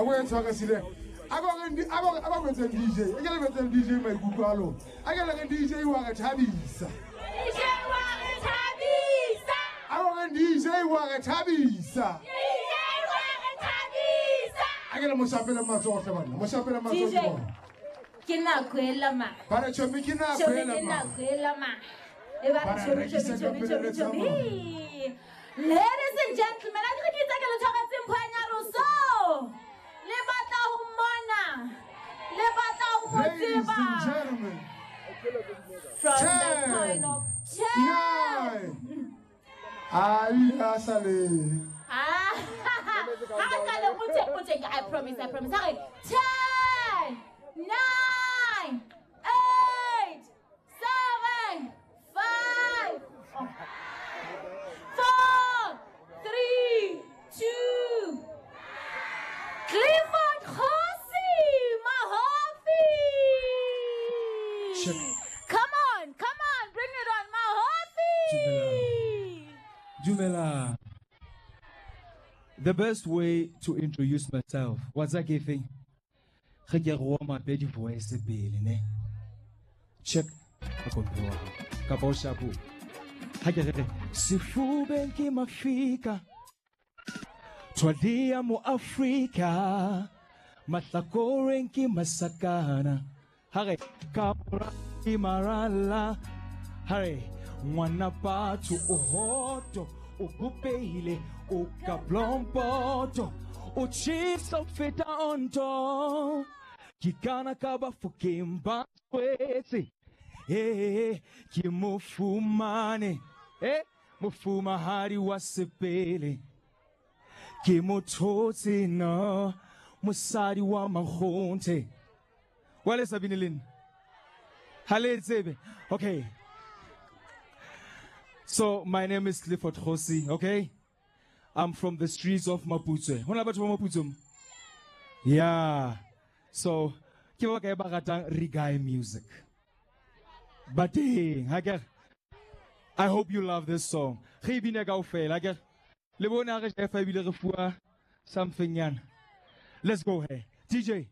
A ko e tshware sile. A ko re a ko a ko etseng DJ. E ke le etseng DJ maikutlo a lona. A ke le re DJ wa re thabisa. DJ wa re thabisa. A ko re DJ wa re thabisa. DJ wa re thabisa. A ke le moshapele matsoho hle banna. Moshapele matsoho DJ. Ke nako e lama. Ba re chomi ke nako Chomi e ke lama. nako e lama. E ba Ba re re chomi chomi rekisa ka chomi pele chomi re chomi. tsamaya. Ladies and gentlemen, a ke re ke itse ke le tshwaretse mpho ya nyaroso. Le batla ho mmona. Le batla ho mo Ladies and tseba. gentlemen, From the 10, point of 10. 9. Ai, a sa le. Ah, ha re qale o teng, I promise, I promise. Ha re 10, 9, 8, 7, 5, 4, 3, 2. Clifford Kgosi Mahofi. Check. Come on, come on, bring it on, Mahofi. Dumela. The best way to introduce myself, what's that giving? Ge ke go warm up di voice pele ne. Check. Ka kompi wa hao. Kapa o shapo. Ha ke re re, sefubeng ke mafika. Twadia mo Afrika. Mahlakoreng ke masakana. Ha re ka mora ke marala. Ha re ngwana batho o hoto o bopehile o ka blompoto o tjhesa ho feta onto ke kana ka bafokeng ba tswetse ee ke mo fumane e mofumahadi wa sepele ke mo thotse no mosadi wa makgonthe wa le sa bine le nna ha le e tsebe. Okay. So my name is Clifford Kgosi, okay? I'm from the streets of Maputswe. Ho na le batho ba Maputswe mo? Yeah. So ke ba kae ba ratang reggae music? Ba teng, ha ke re? I hope you love this song. Re e bine kaofela, ha ke re? Le bone ha re jefa ebile re fuwa something nyana. Let's go here. DJ.